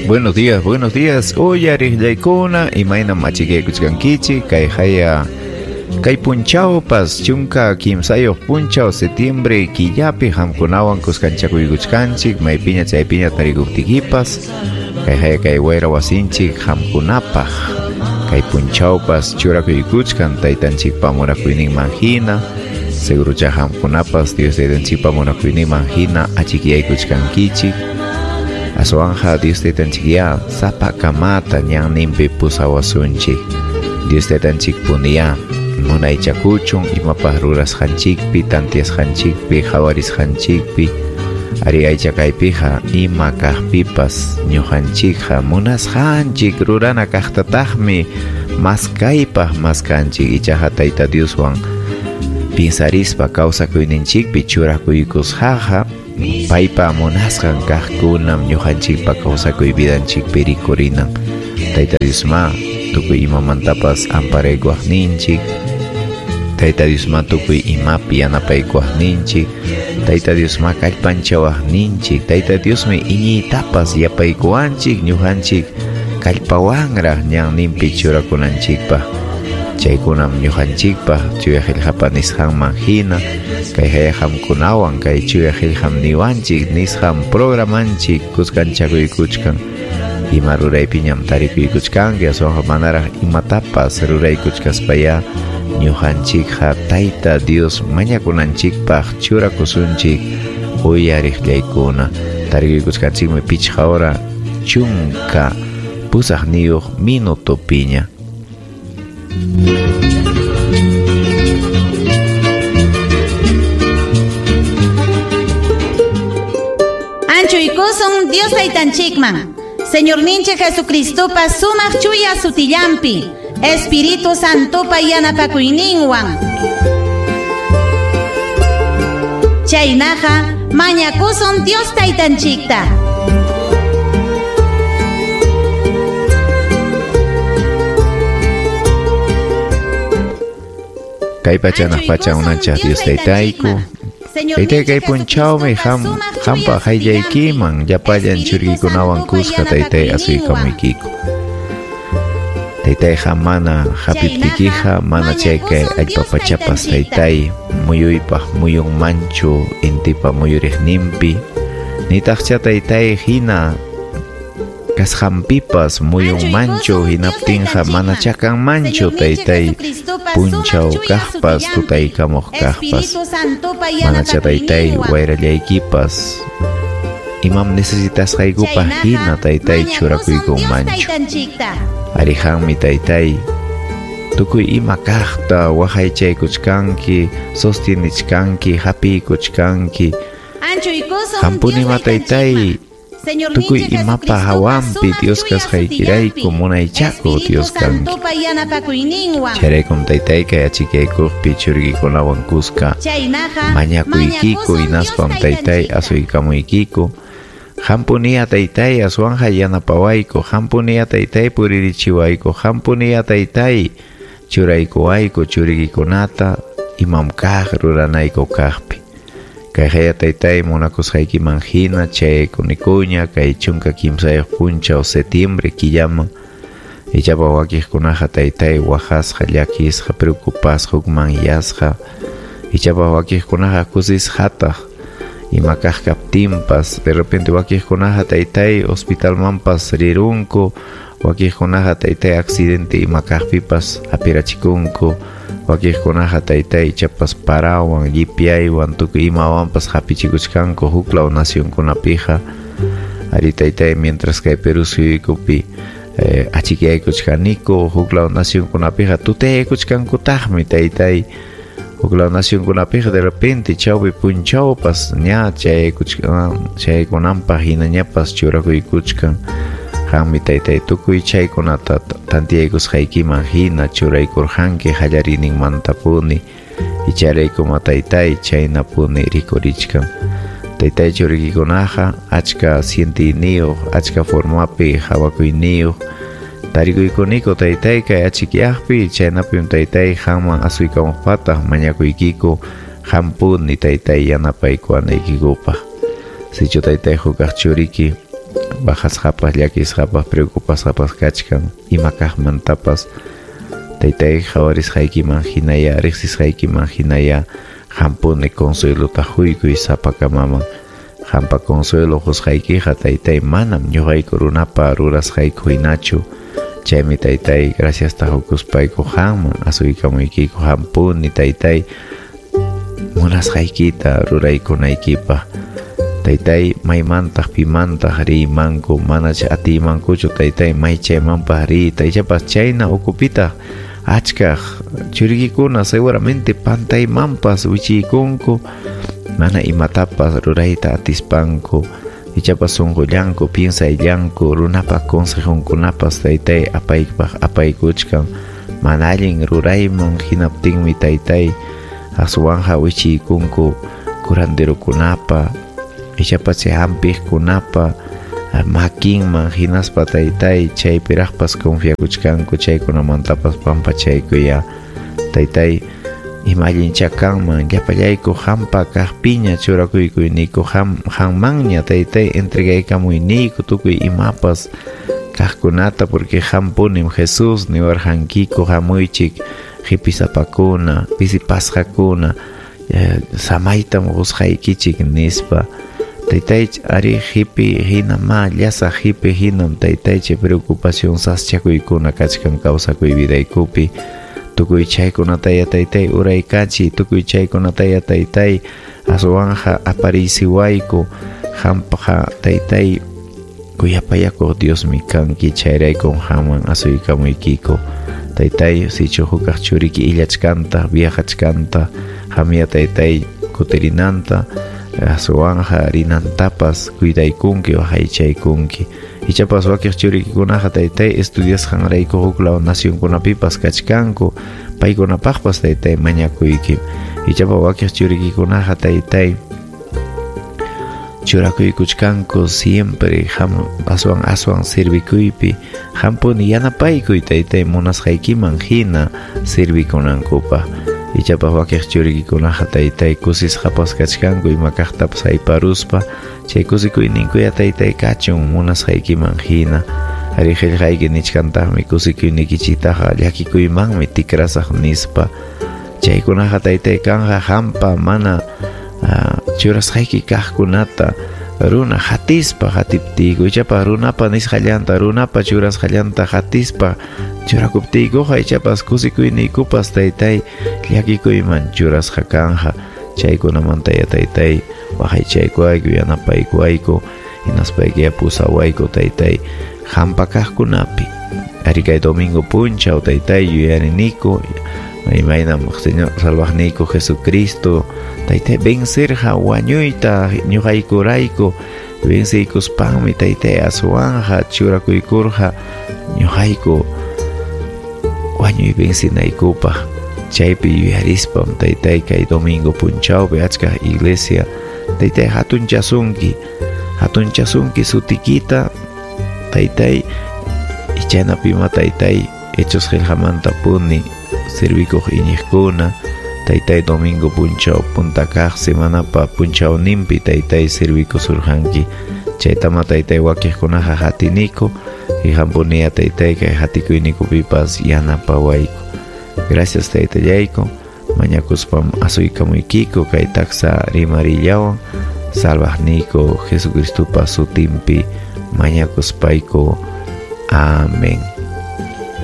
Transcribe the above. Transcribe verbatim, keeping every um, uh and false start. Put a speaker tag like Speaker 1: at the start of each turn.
Speaker 1: Buenos días, buenos días. Uyariqllaykuna, imaynam achikaykuchkankichik, kay haya kay punchawpas chunka kimsayuq punchaw septiembre killapi hamkunawan kuskanchakuykuchkanchik, maypiña chaypiña tarikuptikipas, kay haya kay wayra wasinchik hamkunapaq, kay punchawpas churakuykuchkan taytanchikpa munakuyninman hina, segurucha hamkunapas Dios taytanchikpa munakuyninman hina achikaykuchkankichik. Aswanja Dios taytanchikya sapakamata ñanninpi pusawasunchik. Dios taytanchik puniya munaychakuchun imapaq rurasqanchikpi, tantiasqanchikpi, qhawarisqanchikpi, ari aychakaypiqa ima kaqpipas ñuqanchikqa munasqanchik rurana kaqtataqmi maskaypaq maskanchik, ichaqa Tayta Dioswan pinsarispa kawsakuyninchikpi churakuykusqaqa paypa munasqan kaqkunam ñuqanchikpa kawsakuy vidanchikpi rikurinan. Tayta Diosma tukuy imamantapas amparaykuwaqninchik, Tayta Diosma tukuy imapi yanapaykuwaqninchik, Tayta Diosma kallpanchawaqninchik, Tayta Diosmi iñiytapas yapaykuwanchik ñuqanchik kallpawanraq ñanninpi churakunanchikpaq. Chaykunam ñuqanchikpaq chuya qillqapa nisqanman hina kay haya hamkunawan kay chuya qillqam niwanchik nisqan programanchik kuskanchakuykuchkan. Ima ruraypiñam tarikuykuchkanki, aswanqa manaraq imatapas ruraykuchkaspaya ñuqanchikqa Tayta Dios mañakunanchikpaq churakusunchik uyariqllaykuna. Tarikuykuchkanchikmi pichqa hora chunka pusaqniyuq minutopiña.
Speaker 2: Anchuykusun Dios taytanchikman, Señorninchik Jesucristopa sumaq chuya sutillampi, Espíritu Santopa yanapakuyninwan. Chaynaqa mañakusun Dios taytanchikta.
Speaker 1: Kay pachanaq pacha unanchaq Dios taytayku, taytay kay punchawmi ham hampa hayllaykiman llapallan churiykunawan kuska taytay asuykamuykiku. Taytayqa mana hapiptikiqa mana chay kay allpa pachapas taytay muyuypaq muyunmanchu intipa muyuriqninpi, nitaqcha taytay hina kasqanpipas muyunmanchu hinaptinqa mana chakanmanchu taytay punchaw kaqpas tutaykamuq kaqpas, manacha taytay wayrallaykipas imam necesitasqaykupaq hina taytay churakuykunmanchu. Arihanmi taytay tukuy ima kaqta waqaychaykuchkanki, sostenichkanki, hapiykuchkanki. Hampunima taytay tukuy imapa hawanpi Dios kasqaykirayku munaychaku Dios kanki. Chayraykum taytay kay achikaykuqpi churiykunawan kuska mañakuykiku hinaspam taytay asuykamuykiku. Hampuniya taytay aswanja yanapawayku, hampuniya taytay puririchiwayku, hampuniya taytay churaykuwayku churikikunata imam kaq ruranayku kaqpi. Kay haya taytay munakusqaykiman hina chayaykunikuña kay chunka kimsayuq punchaw septiembre killaman, ichapa wakiqkunaqa taytay waqasqa, llakisqa, preocupasqa, hukmanyasqa, ichapa wakiqkunaqa kusisqataq ima kaq kaptinpas, de repente wakiqkunaqa taytay hospitalmanpas rirunku, wakiqkunaqa taytay accidente ima kaqpipas hapirachikunku, wakiqkunaqa taytay ichapas parawan, llipyaywan, tukuy imawanpas hapichikuchkanku huklaw nacionkunapiqa. Ari taytay mientras kay Perú suyuykupi eh, achikaykuchkaniku huklaw nacionkunapiqa tutayaykuchkankutaqmi taytay. Huklaw nacionkunapiqa de repente chawpi punchawpas ña chayaykuchkan chayaykunanpaq hinañapas churakuykuchkan. Qanmi taytay tukuy chaykunata tantiyaykusqaykiman hina churaykurqanki qallariyninmantapuni, icharaykuma taytay chaynapuni rikurichkan. Taytay churikikunaqa achka sientiyniyuq, achka formapi hawakuyniyuq tarikuykuniko taytay kay achikyaqpi, chaynapim taytay qanman asuykamuqpataq mañakuykiku hampuni taytay yanapaykuwanaykikupaq. Sichu taytay hukaq churiki Waqasqapas, llakisqapas, preocupasqapas kachkan ima kaqmantapas. Taytay, qhawarisqaykiman hinaya, riqsisqaykiman hinaya hampuni consuelota huykuy sapakamaman. Hampa consuelo qusqaykiqa taytay manam ñuqayku runapa rurasqayku hinachu. Chaymi taytay graciasta hukuspayku qamman asuykamuykiku hampuni taytay munasqaykita ruraykunaykipaq. Taytay maymantaq pimantaq riymanku manach atiymankuchu taytay may chaymanpaq riyta. Ichapas chayna ukupitaq achkaq churikikuna seguramente pantaymanpas wichiykunku mana imatapas rurayta atispanku. Ichapas sunqullanku piensayllanku runapa consejunkunapas taytay apaypaq apaykuchkan mana allin rurayman hinaptinmi taytay aswanja wichiykunku curanderokunapa ichapas chay hampiqkunapa makinman hinaspa taytay chaypiraqpas confiakuchkanku chaykunamantapas pampachaykuya taytay ima allincha kanman llapallayku hampa kaqpiña churakuykuyniyku ham hammanña taytay entregaykamuyniyku tukuy imapas kaqkunata porque hampunim Jesús niwarqankiku hamuychik qipisapakuna pisipasqakuna samaytam qusqaykichik nispa. Taytay ari qipi hinama llasa qipi hinam taytay chay preocupación saschakuykuna kachkan kawsakuy vidaykupi. Tukuy chaykunataya taytay uraykachiy, tukuy chaykunataya taytay aswanja aparisiwayku hampaqa taytay kuyapayakuq Diosmi kanki chayraykun haman asuykamuykiku. Taytay sichu hukaq churiki illachkanta viajachkanta hamya taytay kutirinanta aswanja rinantapas cuidaykunki waqaychaykunki. Ichapas wakiq churikikunaqa taytay estudiasqanrayku huklaw nacionkunapipas kachkanku paykunapaqpas taytay mañakuyki. Ichapas wakiq churikikunaqa taytay churakuykuchkanku siempre ham aswan aswan sirvikuypi hampuni yanapaykuy taytay munasqaykiman hina sirvikunankupaq. Ichapas wakiq churikikunaqa taytay kusisqapas kachkanku ima kaqtapas hayparuspa chay kusikuyninkuya taytay kachun munasqaykiman hina. Ari qillqayki nichkantaqmi kusikuynikichiktaqa llakikuymanmi tikrasaq nispa. Chaykunaqa taytay kanqa hampa mana uh, churasqayki kaqkunata runa hatispa hatiptiyku ichapas runapa nisqallanta runapa churasqallanta hatispa churakuptiykuqa ichapas kusikuyniykupas taytay llakikuyman churasqa kanja. Chaykunamantaya taytay waqaychaykuwayku yanapaykuwayku hinaspaykiya pusawayku taytay hampa kaqkunapi. Ari kay domingo punchaw taytay yuyariniku imaynam Señor Salvaqniyku Jesucristo taytay vencerqa wañuyta ñuqaykurayku venciykuspanmi taytay aswanja churakuykurqa ñuqayku wañuy vencinaykupaq. Chaypi yuyarispam taytay kay domingo punchawpi achka iglesia taytay hatunchasunki hatunchasunki sutikita taytay ichanapima taytay Hechos qillqamanta puni servikuq iñiqkuna taytay domingo punchaw punta kaq semanapa punchawninpi taytay servikusurqanki. Chaytama taytay wakiqkunaqa hatiniku y hampuniya taytay kay hatikuyninkupipas yanapawayku. Gracias taytallayku mañakuspam asuykamuykiku kay taksa rimarillawan salvaqniyku Jesucristopa sutinpi mañakuspayku. Amén.